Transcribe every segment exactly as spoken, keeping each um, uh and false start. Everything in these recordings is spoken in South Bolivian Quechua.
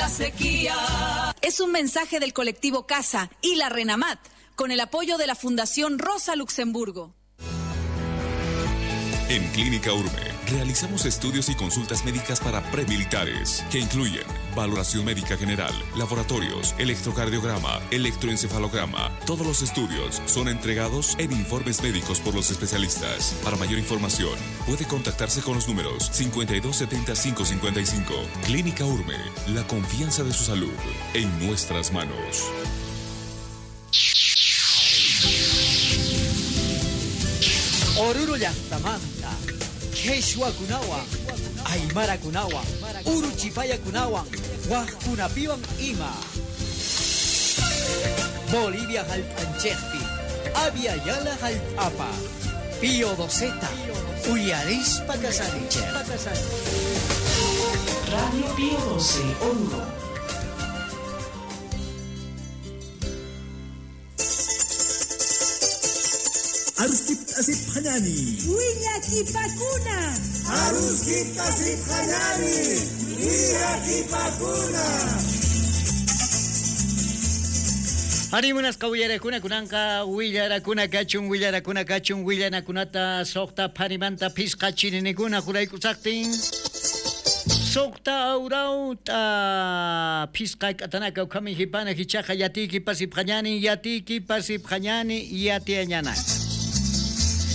la sequía. Es un mensaje del colectivo Casa y la Renamat, con el apoyo de la Fundación Rosa Luxemburgo. En Clínica Urme realizamos estudios y consultas médicas para premilitares, que incluyen valoración médica general, laboratorios, electrocardiograma, electroencefalograma. Todos los estudios son entregados en informes médicos por los especialistas. Para mayor información, puede contactarse con los números cincuenta y dos setenta y cinco cincuenta y cinco. Clínica Urme, la confianza de su salud en nuestras manos. Oruro llaqtamanta, Quechuakunawan, Aymarakunawan, Uruchipayakunawan, Wajkunapiwan ima. Bolivia jallp'anchejpi, Abya Yala jallp'apa, Pío Doceta, uyarispa kasanichej. Radio Pío doce, Oruro. Aruskip asip hañani. Wiñakipakuna. Aruskip asip hañani. Wiñakipakuna. Harimunasqa willarakuna kunanqa willarakuna kachun willarakuna kachun willanakunata suqta pharimanta phisqa chirinikuna juraykusaqtin. Suqta awrawta phisqa k'atanaka ukhami hipana hichaqa yatiyki pasipqañani yatiyki pasipqañani yatiañana.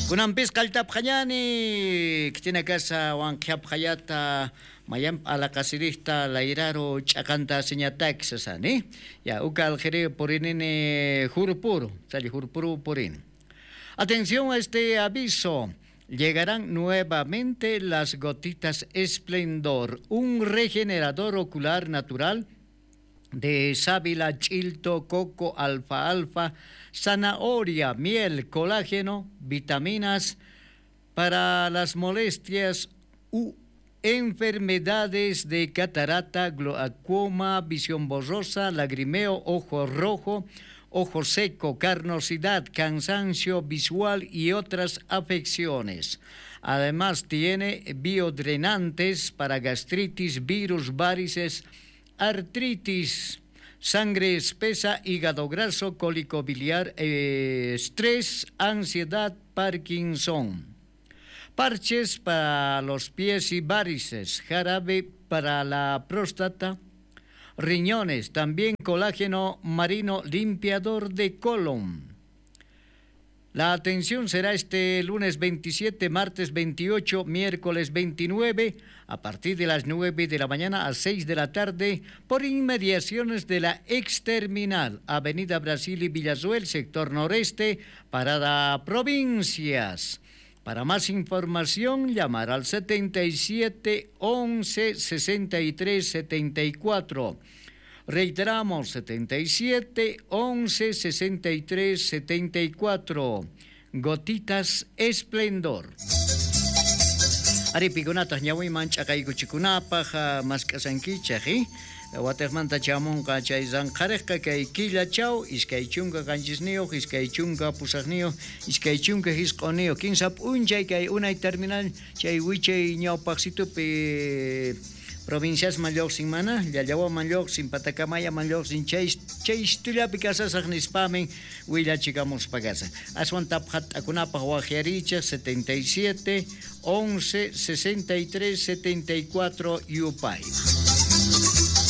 Kunanpis qalltapqañani ktina kasa wanqhiapqayata mayan alaqasirikta layraro ch'aqanta siñatak sasani ya uka aljeri purinini jurpuru sali jurpuru purini. Atención a este aviso. Llegarán nuevamente las gotitas Esplendor, un regenerador ocular natural de sábila, chilto, coco, alfa, alfa, zanahoria, miel, colágeno, vitaminas para las molestias u enfermedades de catarata, glaucoma, visión borrosa, lagrimeo, ojo rojo, ojo seco, carnosidad, cansancio visual y otras afecciones. Además tiene biodrenantes para gastritis, virus, varices, artritis, sangre espesa, hígado graso, cólico biliar, eh, estrés, ansiedad, Parkinson. Parches para los pies y varices, jarabe para la próstata, riñones, también colágeno marino limpiador de colon. La atención será este lunes veintisiete, martes veintiocho, miércoles veintinueve, a partir de las nueve de la mañana a seis de la tarde, por inmediaciones de la Exterminal, Avenida Brasil y Villazuel, sector noreste, Parada Provincias. Para más información, llamar al setenta y siete once sesenta y tres setenta y cuatro. Reiteramos, setenta y siete once sesenta y tres setenta y cuatro. Gotitas Esplendor. Aripikunataq ñawiman ch'aqaykuchikunapaq mask'asankichaq, eh? Watejmanta chamunqa chay ranqhariqqa kay killachaw iskay chunka qanchisniyuq, iskay chunka pusaqniyuq, iskay chunka hisq'uniyuq, kinsa p'unchay kay unay terminal chay wichay ñawpaqsitupi provinciasman lluqsin mana, Llallawaman lluqsin, Patacamayaman lluqsin, chay chaystullapi kasasaq nispamin willachikamuspa kasan. Aswan tapqat'akunapaq waqyarichaq setenta y siete once sesenta y tres setenta y cuatro yupay.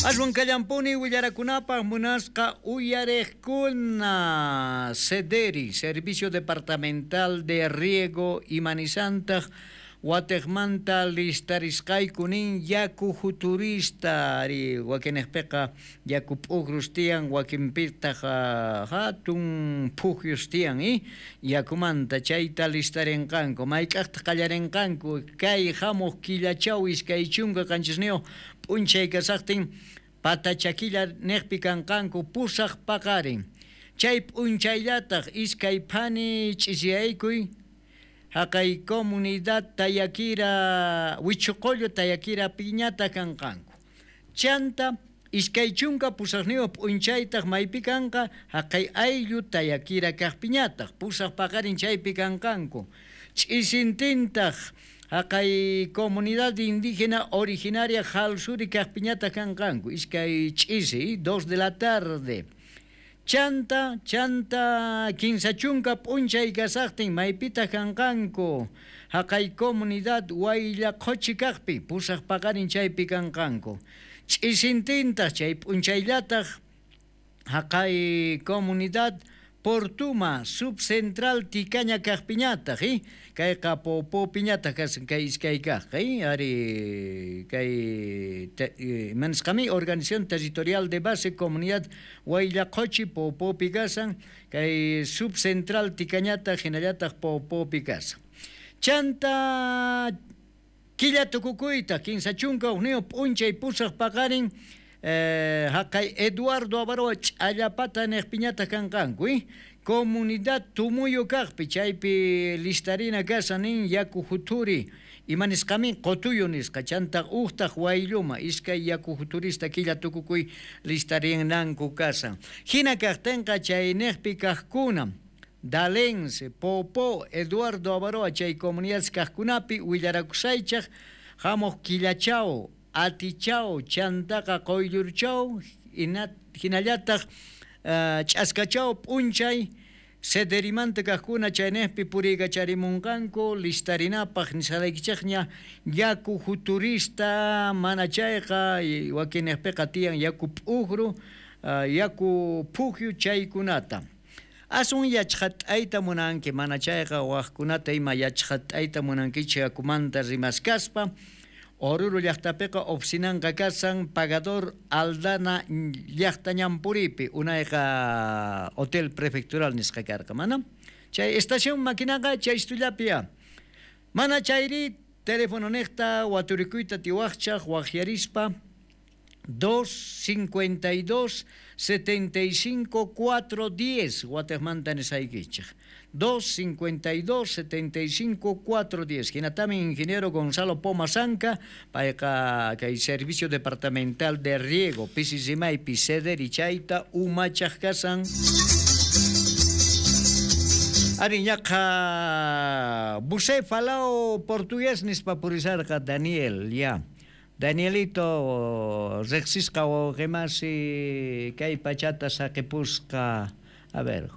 Aswan kallampuni willarakunapaq munasqa uyariqkuna Sederi, Servicio Departamental de Riego y Manizantaq watejmanta listarisqaykunin yaku futurista ari wakinejpiqa yaku p'ukrus tiyan wakinpitaq hatun phujius tiyan eh? Yakumanta chayta listarinqanku mayk'aqtaq qallarinqanku kay hamuq killachaw iskay chunka qanchisniyuq p'unchay kasaqtin patachakilla niqpi kanqanku pusaq paqarin chay p'unchayllataq iskay phani ch'isiyaykuy haqay comunidad Tayakira, Huichucollo Tayakira piñata kanqanku. Chanta iskay chunka pusaqniyuq p'unchaytaq maypi kanqa haqay ayllu Tayakira kaq piñataq pusaq paqarin chaypi kanqanku. Ch'isintintaq Haqay comunidad indígena originaria Jalsuri kaqpiñata kanqanku iskay ch'isi dos de la tarde. Chanta, chanta, kinsa chunka p'unchay kasaqtin maypita kanqanku. Haqay comunidad Wayllaqochi kaqpi pusaq paqarin chaypi kanqanku. Ch'isintintaq chay p'unchayllataq haqay comunidad Portuma subcentral Tikaña kaqpiñataq, eh? Kayqa Popopiñataq kasan kay iskay kaq, eh? Ari kay eh, manisqami organización territorial de base comunidad Wayllaqochi Popopi kasan, kay subcentral Tikañataq hinallataq Popopi kasan. Chanta killa tukukuyta kinsa chunka hukniyuq p'unchay pusaq paqarin Eh, haqay Eduardo Avaroa ch'allapata niqpiñata kanqanku, eh? Comunidad Tumuyo kaqpi chaypi listarina kasan nin yaku juturi imanisqamin qotuyo nisqa chanta uqtaq Waylluma iskay yaku juturista killa tukukuy listarinanku kasan. Hina kaqtinqa chay niqpi kaqkuna Dalense, Popó, Eduardo Avaroa chay comunidades kaqkunapi willarakusaychaq hamuq killachaw Atichaw, chantaqa qoyllurchaw, hinallataq uh, ch'askachaw p'unchay sederimanta kaqkuna chaynejpi puriykacharimunqanku listarinapaq nisqalaykichikña yaku juturista mana chayqa wakinejpiqa tiyan yaku p'ujru uh, yaku phujyu chaykunata. Asun yachqat'ayta munanki mana chayqa waqkunata ima yachqat'ayta munankichik yakumanta rimaskaspa. Oruro llaqtapiqa oficinanqa kasan Pagador Aldana llaqta ñanpuripi unayqa hotel prefectural nisqa karqa mana chay estación maquinaqa chay istullapia mana chayri teléfono niqta waturikuyta tiwaqchaq waqyarispa dos cincuenta y dos setenta y cinco cuatro diez watejmanta nisaykichik dos cincuenta y dos setenta y cinco cuatro diez. Hinatami ingeniero Gonzalo Poma Zanca, payqa kay servicio departamental de riego pisi rimaypi cederi chayta umachaq kasan. Ari ñaqa bucéfalo portugués nispa purisarqa Daniel ya. Danielito riqsisqa wawqimasi kay pachata saqipusqa. A ver,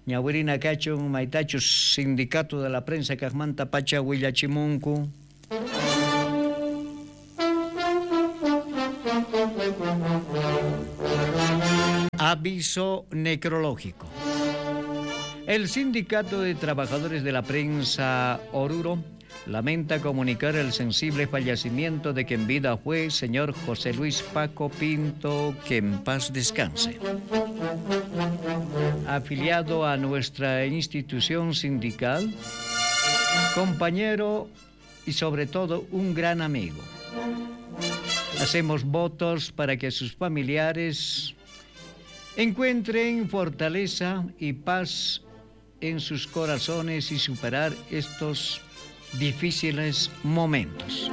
ñawirina kachun maytachus sindicato de la prensa kaqmanta pacha willachimunku. Aviso necrológico. El Sindicato de Trabajadores de la Prensa Oruro lamenta comunicar el sensible fallecimiento de quien vida fue señor José Luis Paco Pinto, que en paz descanse. Afiliado a nuestra institución sindical, compañero y sobre todo un gran amigo. Hacemos votos para que sus familiares encuentren fortaleza y paz en sus corazones y superar estos difíciles momentos.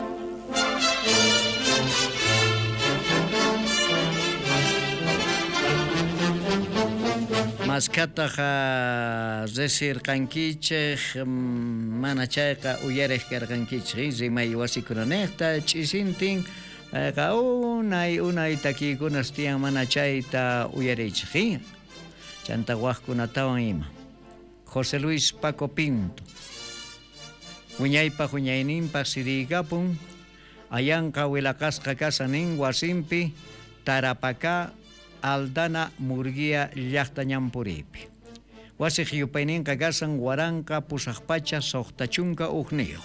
Maskataqa resirqankichik mana chayqa uyariq karqankichik rimay wasikunanejta ch'isintin payqa unay unay takiykunas tiyan mana chayta uyarichik chanta waqkunatawan ima. José Luis Paco Pinto wiñaypaq wiñayninpaq siriykapun ayanqa wilaqasqa kasanin wasinpi Tarapacá Aldana Murguía llaqta ñanpuripi. Wasiq yupayninqa kasan waranqa pusaq pacha suqta chunka hukniyuq.